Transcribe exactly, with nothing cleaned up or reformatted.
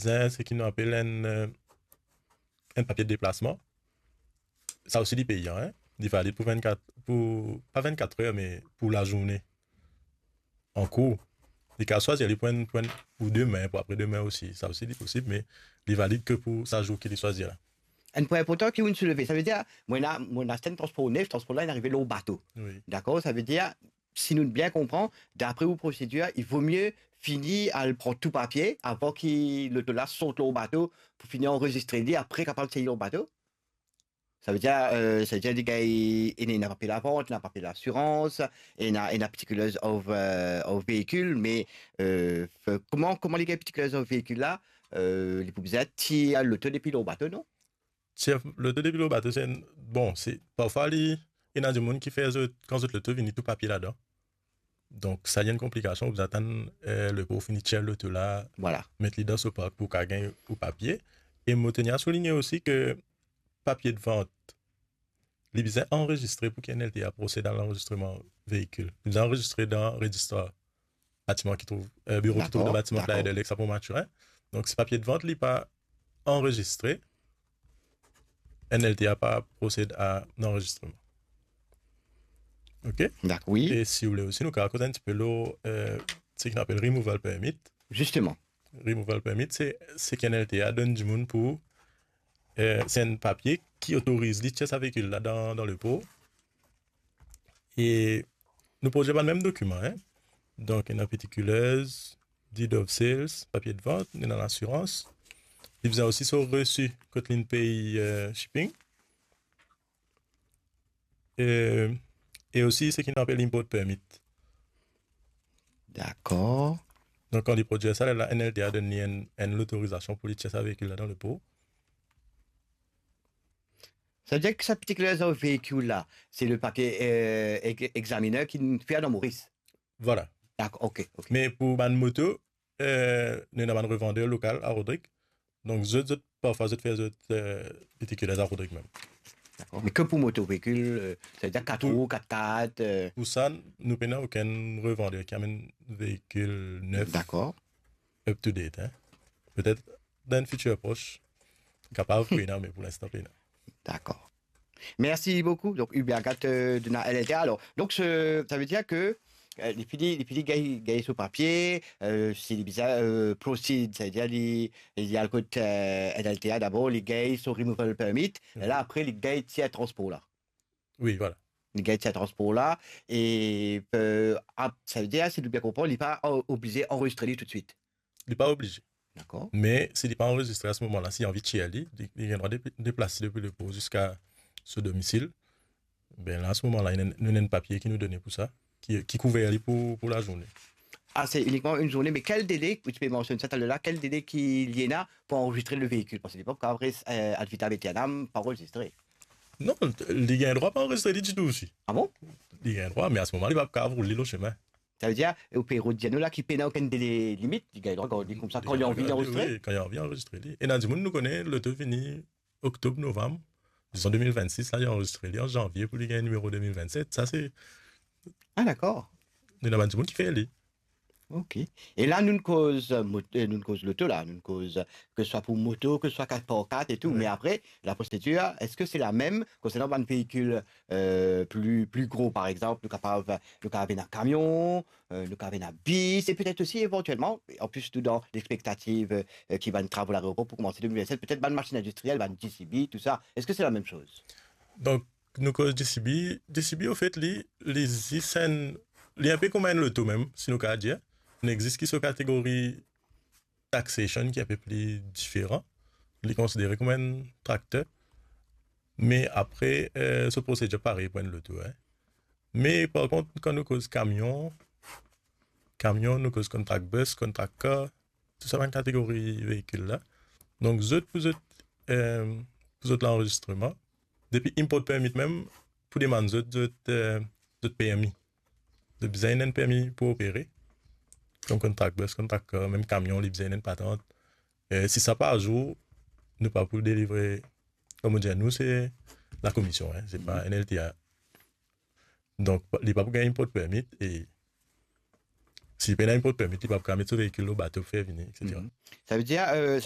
bizin seki nou apel enn, eh, enn papie de deplasman. Sa osi li peyan, en. Li valid pou vennkat, pou, pa vennkat er, me pou lazourne. An kour. Li kapav swazir li pou enn, pou enn, pou demin, pou apre demin osi. Sa osi li posib, me li valid ke pou sa zour ki li swazir la. Enn pwin inportan ki ou'nn souleve, savedir, mo ena, mo ena aste enn transpor nef, transpor la, inn arive lor bato. Wi. Dakor? Savedir, si nou bien konpran, dapre ou prosedir, il vaut mieux fini al pran tou papie avan ki loto la sort lor bato pou fini anrezistre li, apre kapav sey lor bato? Savedir, eh, savedir li gagn, ena, ena papie lavant, ena papie lasirans, ena, ena particulars of, eh, of veikil, me, eh, f-, kouma, kouma li gagn particulars of veikil la, eh, li pou bizin tir loto depi lor bato, non? Tir loto depi lor bato, se enn, bon, se, parfwa li, ena dimoun ki fer zot, kan zot loto vini tou papie ladan. Donk, sa li enn konplikasion, ou bizin atann, eh, lepor fini tir loto la, vwala, met li dan so park pou ka gagn ou papie. E mo teni a souligne osi ke papie de vant, li bizin anrezistre pou ki N L T A prosed a lanrezistreman veikil. Li bizin anrezistre dan rezistrar batiman ki trouv, eh, biro ki trouv dan batiman ki la Ederlex, Pont Mathurin. Donk, si papie de vant li pa anrezistre, N L T A pa prosed a lanrezistreman. Ok? Dakor, wi. E si ou le osi, nou kapav koz enn tipe lor, eh, seki nou apel removal permit. Zisteman. Removal permit, se, seki N L T A donn dimoun pou, eh, se enn papie ki otoriz li tir sa veikil la dan, dan lepor. E nou pou dir bann mem dokiman, en. Donk, ena particulars, deed of sales, papie de vant, ena lasirans. Li bizin osi so resi kot li'nn pey, eh, shipping. E, e osi seki nou apel import permit. Dakor. Donk, kan li prodwir sa, la, N L T A donn li enn, enn lotorizasion pou li tir sa veikil la dan lepor. Savedir ki sa particulars of veikil la, se le papie, eh, ex-, examiner ki'nn fer dan Moris? Vwala. Dakor, ok, ok. Me pou bann moto, eh, nou ena bann revander lokal a Rodrig. Donk, zot, zot, parfwa, zot fer zot, eh, particulars a Rodrig mem. Dakor. Me ke pou moto, veikil, eh, savedir kat rou, kat kat, eh. Pou sa, nou pena okenn revander ki amenn veikil nef. Dakor. Up to date, en. Petet dan enn fitir pros, kapav pou ena, me pou linstan pena. Dakor. Mersi boukou. Donk, Ubergat, eh, donn a N L T A. Alor, donk, se, savedir ke, eh, li fini, li fini gagn, gagn so papie, eh, si li bizin, eh, proceed, savedir li, li al kot, eh, N L T A dabor, li gagn so removal permit, e la, apre, li gagn tir transpor la. Wi, vwala. Li gagn tir transpor la, e, eh, ap-, savedir, si nou bien konpran, li pa o-, oblize anrezistre li toutswit. Li pa oblize. Dakor. Me si li pa anrezistre a se moman la, si li anvi tir li, li, li gagn drwa de-, deplas li depi lepor ziska so domisil. Be la, a se moman la, nou ena enn papie ki nou done pou sa, ki, ki kouver li pou, pou lazourne. Ah, se inikman enn zourne, me kel dele, ou ti pe mansionn sa taler la, kel dele ki li ena pou anrezistre le veikil? Parski li pa pou kapav res, eh, ad vitam aeternam pa anrezistre. Non, li gagn drwa pa anrezistre li ditou osi. Ah bon? Li gagn drwa, me a se moman, li pa pou kapav roul li lor sime. Savedir, ou pe rod dir nou la ki pena okenn dele limit, li gagn drwa gard li koumsa, kan li anvi, li anrezistre? Wi, kan li anvi, li anrezistre li. Ena dimoun nou kone, loto vini oktob, novam, dizon de mil vennsis, la, li anrezistre li an zanvie pou li gagn nimero de mil vennset. Sa, se... Ah, dakor. Ena bann dimoun ki fer li. Ok. E la, nou'nn koz, eh, mot-, eh, nou'nn koz loto la, nou'nn koz, eh, ke swa pou moto, ke swa kat par kat e tou. Wi. Me apre, la prosedir, eski se lamem konsernan bann veikil, eh, pli, pli gro, par exanp, nou kapav, nou kapav ena kamion, eh, nou kapav ena bis, e petet osi, evantielman, an plis nou dan lexpektativ, eh, ki bann travo laeropor pou koumans de mil vennset, petet bann masinn indistriel, bann J C B, tou sa. Eski se lamem soz? Donk, nou koz J C B, J C B, anfet, li, li zis enn, li inpe kouma enn loto mem, si nou kapav dir. Li existe ki so kategori taxation ki inpe pli diferan. Li konsidere kouma enn trakter. Me apre, eh, so prosedir parey pou enn loto, en. Me par kont, kan nou koz kamion, kamion, nou koz contract bus, contract car, tou sa bann kategori veikil la. Donk, zot, pou zot, eh, pou zot lanrezistreman, depi import permit mem, pou demann zot, zot, eh, zot permi. Zot bizin enn permi pou opere. Kouma contract bus, contract car, mem kamion, li bizin enn patant. Eh, si sa pa azour, nou pa pou delivre, kouma dir, nou, se lakomision, en, se pa N L T A. Donk, li pa pou gagn import permit, e si li pena import permit, li pa pou kapav met so veikil lor bato pou fer vini, et cetera. Mhm. Savedir, eh, savedir